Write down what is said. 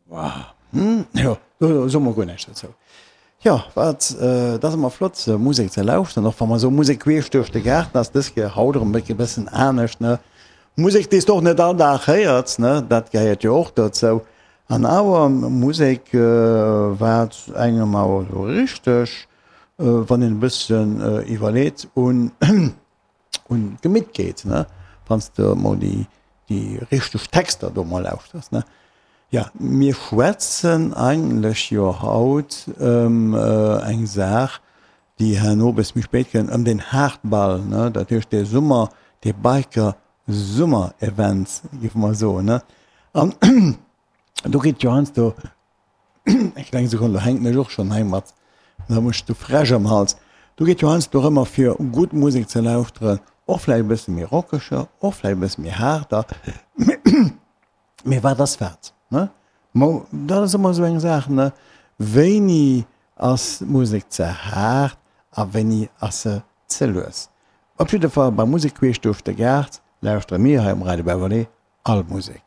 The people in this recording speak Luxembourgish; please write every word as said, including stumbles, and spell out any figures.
Hm, jo, do soe mer guer näischt dozou. Jo, wat, dat ass ëmmer flott, sou Musek ze lauschteren, och wa mer sou Musek queesch duerch de Gaarten ass dës Kéier haut erëm e bëssen anescht, ne? Musek, déi s de och net all Dag héiers, ne? Dat gehéiert jo och dozou. An awer Musek, wat engem awer sou richteg, wann een e bëssen iwwerleet, un un d'Gemitt geet, ne? Wann s de emol déi déi richteg Texter do mol lauschters, ne? Ja, mir schwätzen eigentlech jo haut ëm eng Saach, déi herno e bësse méi spéit kënnt, ëm den Haardball, ne? Dat heescht dee Summer, dee Biker Summer-Event, géife mer soen, ne? An do geet jo heiansdo, eng kleng Sekonn, do hänken ech och schonn hei mat, da muss ech de Fräsch am Hals, do geet jo heiansdo dorëmmer fir gutt Musek ze lauschteren, och vläicht e bësse méi rockeger, och vläicht e bësse méi haarder. Mee wat ass wat, ne? Mo, dat ass ëmmer esou eng Saach, ne? Wéini ass d'Musek ze haart a wéini ass se ze lues? Op jidde Fall bei Musek queesch duerch de Gaart lauschtere mir hei um Radio Beverley all Musek.